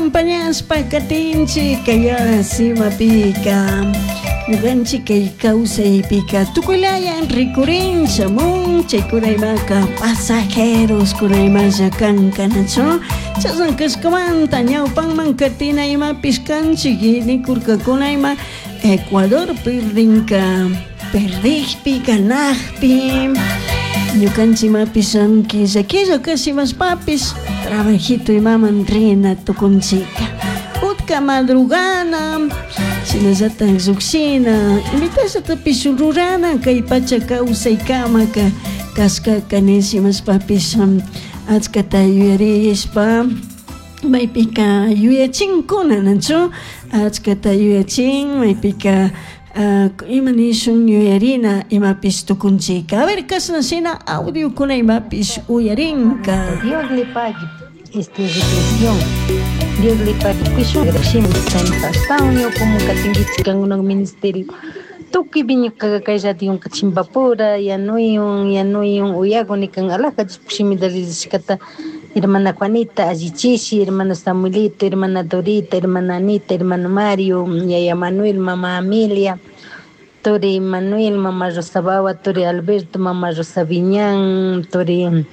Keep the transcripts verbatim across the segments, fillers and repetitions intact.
Acompañashpa katinchik kay simapika ñukanchik kay kawsaypika tukuylaya rikurin shamun chaykunaymaka pasajeros kunaymalla kankanachu chashna kashkamanta ñawpanman katina imapish kanchik nikurkakunayma Ecuador perdinka perdikpi ganakpi ñukanchik imapish killa killa kashimashpapish trabajito imaman rina tukunchika utka madrugana shinallatak llukshina imitallatapish rurana kay pacha kawsaykamaka kashkaka nishimashpapish achkata yuyarishpa maypika yuyachinkuna nachu achkata yuyachin maypika uh, ima nishun yuyarina imapish tukunchika a ver kashna shina audiokuna imapish uyarinka. Dios le pague esta reflexión. Dios le pague. Como katingichik ministerio. Tukuy ñukaqa kay radionka chimpapura yanuyun yanuyun uyakuni kan alhaja shimita ririshkata hermana Juanita allichishi hermano Samuelito hermana Dorita hermana Anita hermano Mario yaya Manuel mama Amelia turi Manuel mama Rosa Bawa turi Alberto mama Rosa Viñán turi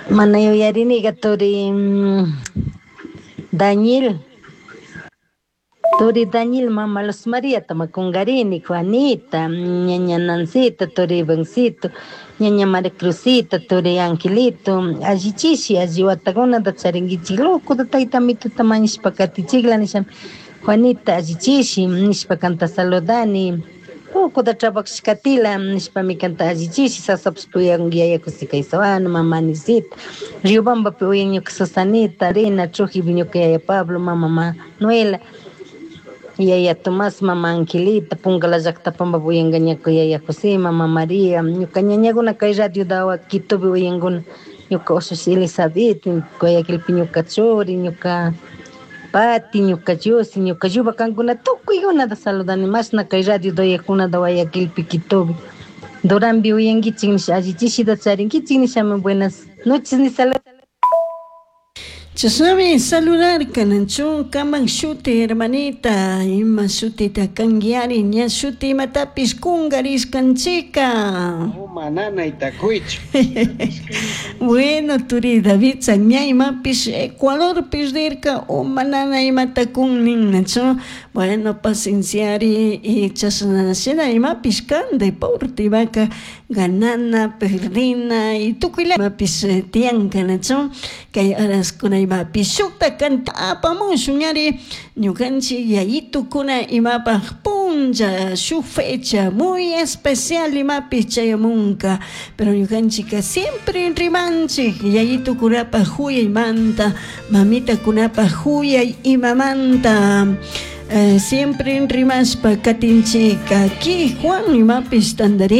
mana yuyariniqa turi Daniel Turi Daniel, mama Luz María, tamakungarini, Juanita, ñaña Nancita, turi Ivancito, ñaña María Cruzita, turi Angelito, allichishi, alli watakunata charinkichik loco tayta mituta mañashpa katichikla nisha Juanita allichishi nishpa kanta saludani Ukuta trabajashkatila nishpami kanta allichishi sasapish uyan yaya José Caizuano, mama Anisita, Riobambapi uyan ñuka Susanita, Rina, Trujillo ñuka yaya Pablo, mama Manuela, yaya Tomás, mama Angelita, Pungala llaqtapampa uyanka ñuka yaya José, mama María, ñuka ñañakuna kay radio dawa Quitopi uyankuna, ñuka ushushi Elizabeth, Guayaquilpi ñuka churi, ñuka Pati, ñuka Diosi, ñuka Yuba kankuna tukuykunata saludani mashna kay radio doyakunata Guayaquilpi Quitopi. Duranpi uyankichik nisha allichishita charinkichik nishami buenas noches ni salud. Chashnami saludarka nachu kaman shuti hermanita ima shutita kankiari ña shuti imatapish kungarishkanchika. Uma nanayta kuychu. Bueno, turi David ña imapish Ecuadorpish rirka uma nana imata kun nin nachu bueno pacienciari y chashna shina imapish kan deporte imaka ganana perdina y tukuyla imapish tiyanka nachu kay horaskuna imapish shukta kanta apamushun ñari ñukanchik yayitukuna imapaj punlla shuk fecha muy especial imapish chayamunka pero ñukanchika siempre rimanchik yayitukunapaj huyaymanta mamitakunapaj huyay imamanta eh, siempre rimashpa katinchik aki Juan imapish tandarin.